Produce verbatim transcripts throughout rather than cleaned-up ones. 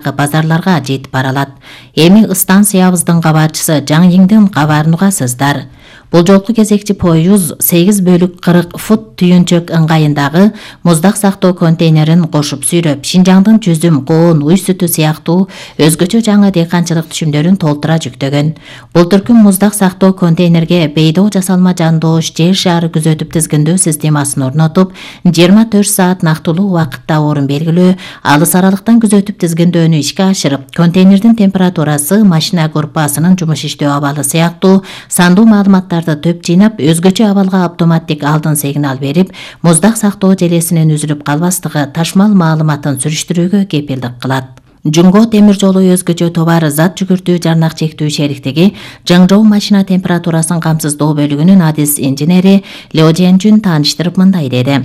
базарларга жетип бара алат. Эми станциябыздын кабарчысы Жаң Йиңдин кабарын угасыздар. Бул жолку кезекчи поюз сегиз бөлүк кырк фут түйүнчөк ыңгайындагы муздак сактоо контейнерин кошуп сүйрөп, Шинжаңдын жүзүм, коон, уй сүтү сыяктуу өзгөчө жаңы дыйканчылык түшүмдөрүн толтура жүктөгөн. Бул түркүм муздак сактоо контейнерге бейдоо жасалма жандоош жер шаары күзөтүп тизгиндөө системасын орнотуп, жыйырма төрт саат нактылуу убакытта орун белгилөө, алыс аралыктан күзөтүп тизгиндөөнү ишке ашырып, контейнердин температурасы, машина группасынын жумуш иштөө абалы сыяктуу сандуу маалыматтар төп жыйнап, өзгөчө абалга автоматтик алдын сигнал берип, муздак сактоо желесинин үзүлүп калбастыгы ташмал маалыматын сүрүштүрүүгө кепилдик кылат. Жунго темир жолу өзгөчө товар зат жүгүртүү жарнак чектүү шериктиги Жаңжоу машина температурасын камсыздоо бөлүгүнүн адис инженери Лё Жэнжүн тааныштырып мындай деди.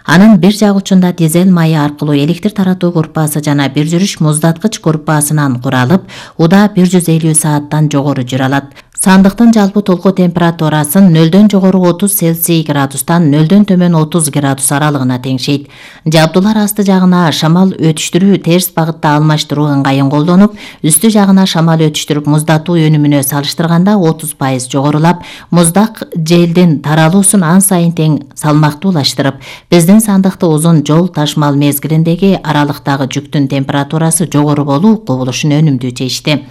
Анын бир жак учунда дизель майы аркылуу электр таратуу группасы жана бир жүрүш муздаткыч группасынан куралып, уда бир жүз элүү сааттан жогору жүрө алат. Сандыктын жалпы толку температурасын нөлдөн жогору отуз Цельсий градустан нөлдөн төмөн отуз градус аралыгына теңшейт. Жабдуулар асты жагына шамал өтүштүрүү терс багытта алмаштыруу ыңгайын колдонуп, үстү жагына шамал өтүштүрүп муздатуу өнүмүнө салыштырганда отуз пайыз жогорулап, муздак желдин таралуусун ан сайын тең салмактуулаштырып, биздин сандыкты узун жол ташмал мезгилиндеги аралыктагы жүктүн температурасы жогору болуу кубулушун өнүмдүү чечти.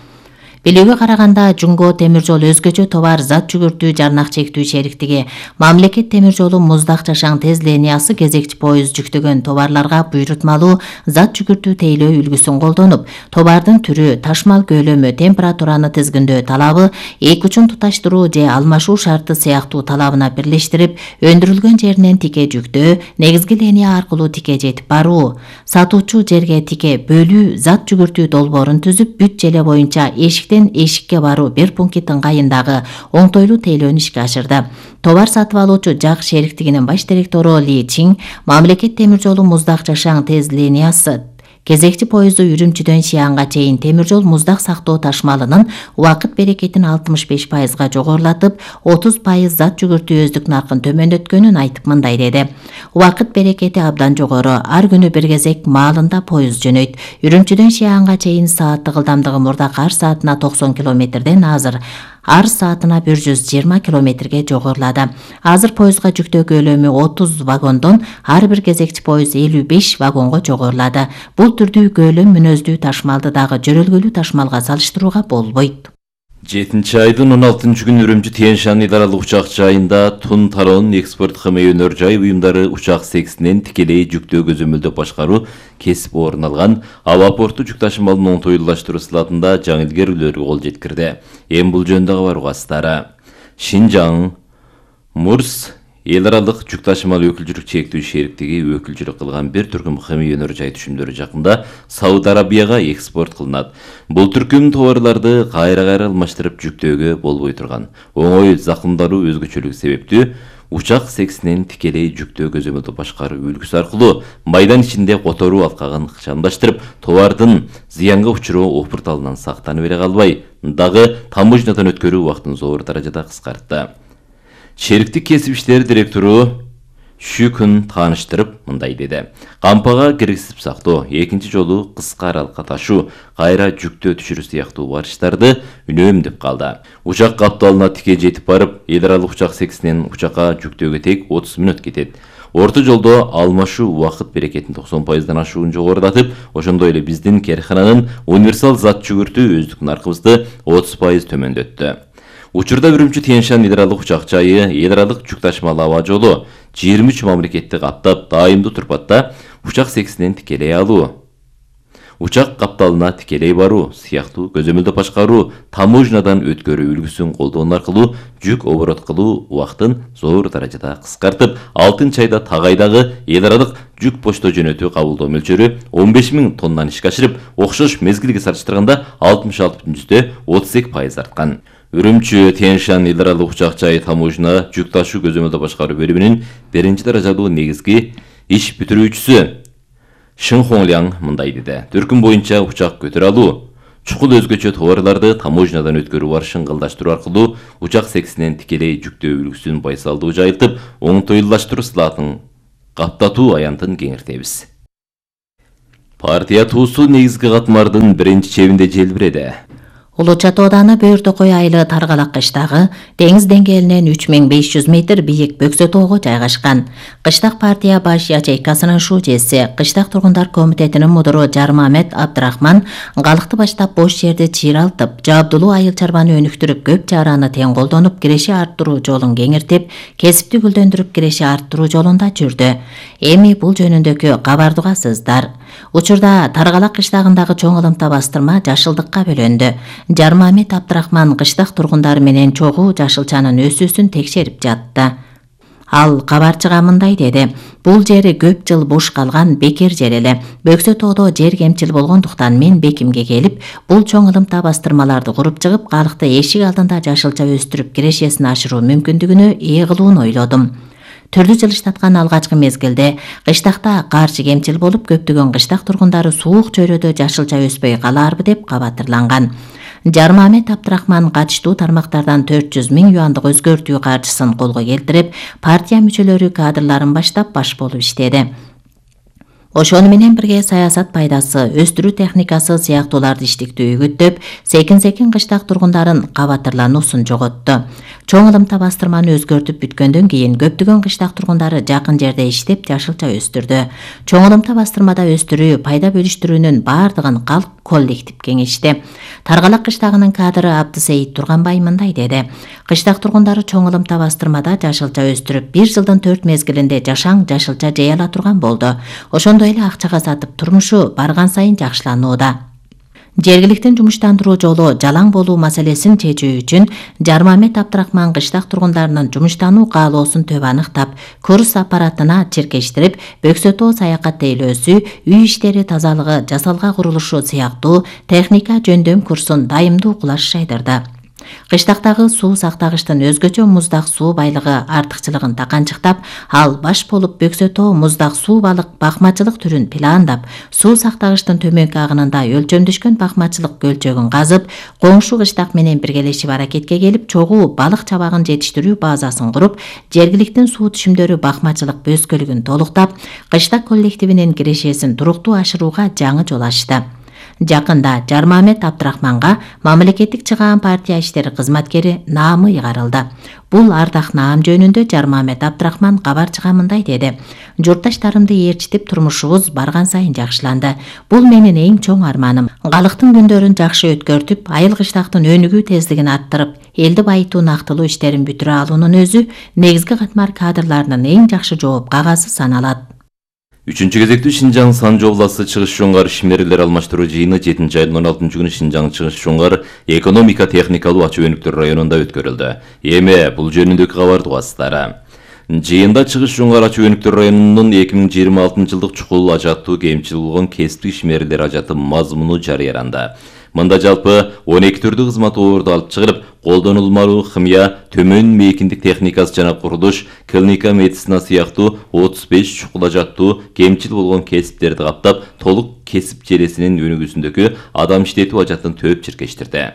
Билүүгө караганда, Жунго темир жол өзгөчө товар зат жүгүртүү жарнак чектүү шериктиги Мамлекет темир жолу муздак жашаң тез линиясы кезекчи поюз жүктөгөн товарларга буйрутмалуу зат жүгүртүү тейлөө үлгүсүн колдонуп, товардын түрү, ташмал көлөмү, температураны тизгиндөө талабы, эки учун туташтыруу же алмашуу шарты сыяктуу талабына бирлештирип, өндүрүлгөн жеринен тике жүктөө, негизги линия аркылуу тике жетип баруу, сатуучу жерге тике бөлүү, зат жүгүртүү долбоорун түзүп, бүт желе боюнча эшик эшикке баруу бир пункт ыңгайындагы оңтойлуу тейлөөнү ишке ашырды. Товар сатып алуучу жак шериктигинин баш директору Ли Чин Мамлекет темир жолу муздак жашаң тез линиясы кезекчи поезду Үрүмчүдөн Шиянга чейин темир жол муздак сактоо ташмалынын убакыт берекетин алтымыш беш пайызга жогорулатып, отуз пайыз зат жүгүртүү өздүк наркын төмөндөткөнүн айтып мындай деди. Убакыт берекети абдан жогору, ар күнү бир кезек маалында поезд жөнөйт. Үрүмчүдөн Шиянга чейин сааттык ылдамдыгы мурдак ар саатына токсон километрден азыр ар саатына бир жүз жыйырма километрге жогорулады. Азыр поездга жүктөө көлөмү отуз вагондон ар бир кезекчи поезд элүү беш вагонго жогорулады. Бул түрдүү көлөм мүнөздүү ташмалды дагы жөрөлгөлүү ташмалга салыштырууга болбойт. жетинчи айдын он алтынчы күнү Үрүмчү Тянь-Шань ыйдаралык учак жайында Тун Тарон экспорт кыймыл өнөр жай уюмдары учак сексинен тикелей жүктөө көзөмөлдөп башкаруу кесип орун алган аба порту жүк ташымалын оңтойлуулаштыруу сылатында жаңы илгерүүлөргө кол жеткирди. Эми бул жөнүндө кабар угасыздары. Шинжаң Мурс эл аралык жүк ташымал өкүлчүлүк чектүү шериктиги өкүлчүлүк кылган бир түркүм кыймыл өнөр жай түшүмдөрү жакында Сауд Арабияга экспорт кылынат. Бул түркүм товарларды кайра-кайра алмаштырып жүктөөгө болбой турган оңой закымдаруу өзгөчөлүгү себептүү учак сексинен тикелей жүктөө көзөмөлдү башкаруу үлгүсү аркылуу майдан ичинде которуу алкагын ыкчамдаштырып, товардын зыянга учуруу опурталынан сактанып эле калбай, дагы таможнядан өткөрүү убактын зор даражада кыскартты. Шериктик кесип иштери директору Шүкүн тааныштырып мындай деди. Кампага киргизип сактоо, экинчи жолу кыска аралыкка ташуу, кайра жүктөө түшүрүү сыяктуу барыштарды үнөмдөп калды. Учак капталына тике жетип барып, эл аралык учак сексинен учакка жүктөөгө тек отуз мүнөт кетет. Орто жолдо алмашуу убакыт берекетин токсон пайыздан ашуун жогорулатып, ошондой эле биздин керкананын универсал зат жүгүртүү өздүк наркыбызды отуз пайыз төмөндөттү. Учурда Үрүмчү Тянь-Шань ыйдаралык учак жайы эл аралык жүк ташымал аба жолу жыйырма үч мамлекетти каптап, дайымдуу турпатта учак сексинен тикелей алуу, учак капталына тикелей баруу сыяктуу көзөмөлдө башкаруу, таможнядан өткөрүү үлгүсүн колдонуу аркылуу жүк оборот кылуу убактын зор даражада кыскартып, алтынчы айда Тагайдагы эл аралык жүк почта жөнөтүү кабылдоо мөлчөрү он беш миң тоннаны ишке ашырып, окшош мезгилге салыштырганда алтымыш алты бүтүн жүздө отуз эки пайыз арткан. Үрүмчү Тянь-Шань ыйдаралык учак жайы таможня жүк ташуу көзөмөлдө башкаруу бөлүмүнүн биринчи даражалуу негизги иш бүтүрүүчүсү Шин Хонгляң мындай деди. Түркүм боюнча учак көтөрө алуу, чукул өзгөчө товарларды таможнядан өткөрүү барышын ылдаштыруу аркылуу учак сексинен тикелей жүктөө үлгүсүн байсалдуу жайылтып, оңтойлуулаштыруу сылатын каптатуу аянтын кеңиртебиз. Партия туусу негизги катмардын биринчи чебинде желбиреди. Улуу Чат ооданы Бөөртөкөй айылы Таргалак кыштагы деңиз деңгээлинен үч миң беш жүз метр бийик Бөксөтоого жайгашкан. Кыштак партия баш ячейкасынын шүүжеси, Кыштак тургундар комитетинин мудуру Жармамет Абдрахман калыкты баштап бош жерди чыйралтып, жабдулуу айыл чарбаны өнүктүрүп, көп чараны тең колдонуп, киреши арттыруу жолун кеңиртип, кесипти гүлдөндүрүп, киреши арттыруу жолунда жүрдү. Эми бул жөнүндөгү кабарды угасыздар. Учурда Таргалак кыштагындагы чоң ылымта бастырма жашылдыкка бөлөндү. Жармамет Абдрахман кыштак тургундары менен чогуу жашылчанын өсүүсүн текшерип жатты. Ал кабарчыга мындай деди: "Бул жери көп жыл буш калган бекер жер эле. Бөксөтоодо жер кемчил болгондуктан мен бекимге келип, бул чоң ылымта бастырмаларды куруп чыгып, калыкты эшик алдында жашылча өстүрүп, кирешесин ашыруу мүмкүндүгүнө ээ кылууну ойлодум. Түрдүү жылыштаткан алгачкы мезгилде кыштакта каршы кемчил болуп, көптөгөн кыштак тургундары суук чөйрөдө жашылча өспөй калаарбы" деп кабатырланган. Жармамет Абдрахман катыштуу тармактардан төрт жүз миң юандык өзгөртүү каржысын колго келтирип, партия мүчөлөрү кадрларын баштап баш болуп иштеди. Ошону менен бирге саясат пайдасы, өстүрүү техникасы сыяктууларды иштиктүү үгүттөп, секин-секин кыштак тургундарын кабатырлануусун жоготту. Чоң ылымта бастырманы өзгөртүп бүткөндөн кийин көптөгөн кыштак тургундары жакын жерде иштеп жашылча өстүрдү. Чоң ылымта бастырмада өстүрүү, пайда бөлүштүрүүнүн бардыгын калк коллектив кеңешти. Таргалак кыштагынын кадры Абдысейит Турганбай мындай деди: "Кыштак тургундары чоң ылымта бастырмада жашылча өстүрүп, бир жылдын төрт мезгилинде жашаң жашылча жей ала турган болду. Ошондой эле акчага сатып турмушу барган сайын жакшыланууда." Жергиликтин жумуштандыруу жолу жалаң болуу маселесин чечүү үчүн Жармамет Абдрахман кыштак тургундарынын жумуштануу каалоосун төп аныктап, курс аппаратына чиркештирип, Бөксөтоо саякат тейлөөсү, үй иштери тазалыгы, жасалга курулушу сыяктуу техника жөндөм курсун дайымдуу кулаш жайдырды. Кыштактагы суу сактагычтын өзгөчө муздак суу байлыгы артыкчылыгын таканчыктап, ал баш болуп Бөксөтоо муздак суу балык бакмачылык түрүн пландап, суу сактагычтын төмөнкү агынында өлчөмдөшкөн бакмачылык көлчөгүн казып, коңшу кыштак менен биргелешип аракетке келип, чогуу балык чабагын жетиштирүү базасын куруп, жергиликтин суу түшүмдөрү бакмачылык бөскөлүгүн толуктап, кыштак коллективинин кирешесин туруктуу ашырууга жаңы жол ачты. Жакында Жармамет Абдрахманга мамлекеттик чыгаан партия иштери кызматкери наамы ыйгарылды. Бул ардак наам жөнүндө Жармамет Абдрахман кабарчыга мындай деди: "Журтташтарымды ээрчитип, турмушубуз барган сайын жакшыланды. Бул менин эң чоң арманым. Калыктын күндөрүн жакшы өткөртүп, айыл кыштактын өнүгүү тездигин арттырып, элди байытуу нактылуу иштерин бүтүрө алуунун өзү негизги катмар кадрларынын эң жакшы жооп кагазы саналат." Үчүнчү кезектүү Шинжаң Санжы областы Чыгыш Жоңгар ишмерлер алмаштыруу жыйыны жетинчи айдын он алтынчы күнү Шинжаң Чыгыш Жоңгар экономика техникалуу ачуу өнүктүрүү районунда өткөрүлдү. Эми бул жөнүндөгү кабарды угасыздар. Жыйында Чыгыш Жоңгар ачуу өнүктүрүү районунун эки миң жыйырма алтынчы жылдык чукул ажаттуу кемчил болгон кесиптик ишмерлер ажаты мазмуну жарыяланды. Мында жалпы он эки түрдүү кызмат орду алып чыгылып, колдонулмалуу химия, төмөн мейкиндик техникасы жана курулуш, клиника медицина сыяктуу отуз беш чукул ажаттуу кемчил болгон кесиптерди каптап, толук кесип желесинин өнүгүүсүндөгү адам иштетүү ажатын төп чиркештирди.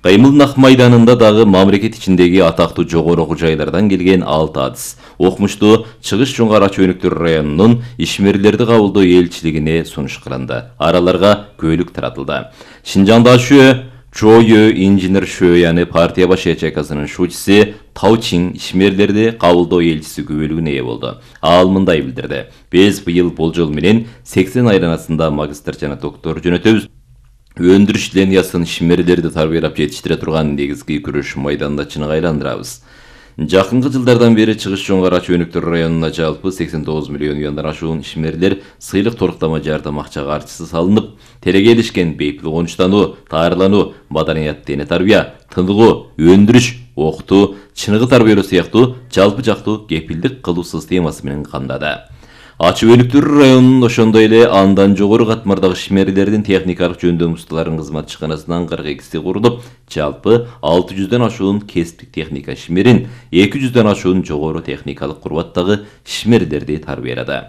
Кыймыл Ак майданында дагы мамлекет ичиндеги атактуу жогору окуу жайлардан келген алты адыс окумуштуу Чыгыш Жоңгар ачуу өнүктүрүү районунун ишмерлерди кабылдоо элчилигине сунуш кылынды. Араларга көйлүк таратылды. Шинжаңда шөө Чойö инженер Шөөяны партия баш ячейкасынын шүүчүсү Таучин ишмерлерди кабылдоо элчиси күбөлүгүнө ээ болду. Ал мындай билдирди: "Биз быйыл болжол менен сексен айланасында магистр жана доктор жөнөтөбүз. Өндүрүш линиясын ишмерлерди тарбиялап жетиштире турган негизги күрөш майданында чыныгы айландырабыз." Жакынкы жылдардан бери Чыгыш Жоңгар ачуу өнүктүрүү районуна жалпы сексен тогуз миллион юандан ашуун ишмерлер сыйлык торуктама жардам акча каржысы салынып, телегелишкен бейпил конуштануу, таарылануу, маданият дене тарбия, тыныгуу, өндүрүш, окутуу, чыныгы тарбиялоо сыяктуу жалпы жактуу кепилдик кылуу системасы менен камдады. Ачуу өнүктүрүү районунун ошондой эле андан жогору катмардагы ишмерлердин техникалык жөндөм усталарын кызматчыканасынан кырк экиси курулуп, жалпы алты жүздөн ашуун кесиптик техника ишмерин, эки жүздөн ашуун жогору техникалык курбаттагы ишмерлерди тарбиялады.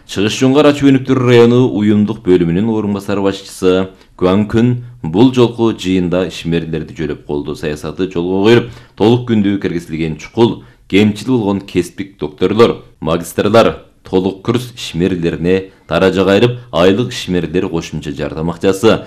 Чыгыш Жоңгар ачуу өнүктүрүү району уюмдук бөлүмүнүн орун басары башчысы Куанкүн бул жолку жыйында ишмерлерди жөлөп колдоо саясаты жолго коюлуп, толук күндүү киргизилген чукул, кемчил болгон кесиптик докторлор, магистрлар, толук курс ишмерлерине даража кайрып, айлык ишмерлер кошумча жардам акчасы,